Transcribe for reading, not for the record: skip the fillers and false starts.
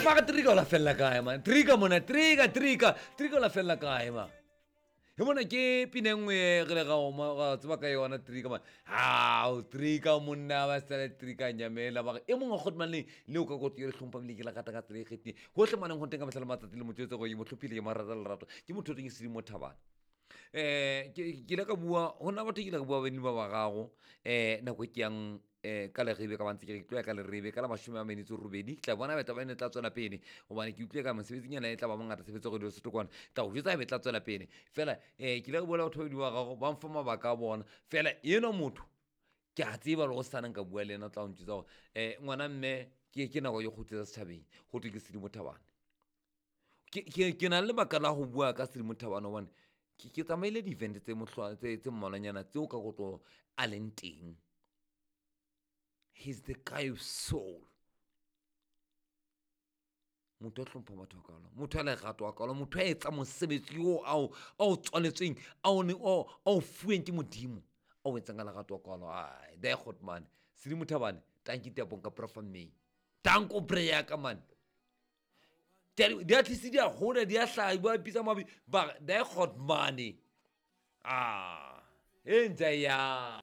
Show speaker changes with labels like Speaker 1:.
Speaker 1: Mara Trika o la fella kae man? Trika mona, Trika, Trika, Trika o la fella kae man? E mona ke pina e nngwe e re le ga oma ga tseba ka yona Trika man. Hao Trika monna ba sale Trika nyamela ba re e mongwe kgotman man le le o ka go tiro hlompha bile ke la gata ka tsela e kgethile. Hohle maneng ho teng ka mehla le matsatsi le motho go mo hlophile ke marata lerato. Ke motho o teng se di mo thabana. Ke ile ka bua ho na batho ke ile ka bua beng ba ba gago nako e ke yang ka lerebe ka bantse ke re ke tlo ya ka lerebe ka la 48, ke tla bona beta ba ene tla tswela pele gobane ke utlwile ka mosebetsing yana e tla ba mongata tshebetso go dilo setokwane tla go jwetsa ebe tla tswela pele fela ke ile ka bua le batho ba babedi ba gago ba mfa mabaka a bona fela enwa motho ke a tseba le go sana nka bua le ena o tla go ntjwetsa gore ngwana mme ke nako e kgutsetsa setšhabeng go thwe ke Sedimo Thabane. Ke na le lebaka la go bua ka Sedimo Thabane gobane ke tsamaile di-event tse mohlwa tse mmalwanyana tseo ka kotlo a leng teng. He's the guy of soul. Motho a hlompha batho a kalo, motho a lerato a kalo, motho a etsa mosebetsi o a o tswaletsweng, a o ne o a o fuweng ke Modimo, a o etsang ka lerato a kalo. Ai, daai God man. Sedimo Thabane, tanki tapong ka profa May. Tanko prayer ka man. Di a tlise di a hola, di a hlaha, ba bitsa mabi, ba daai God man. Ah, e ntse ya.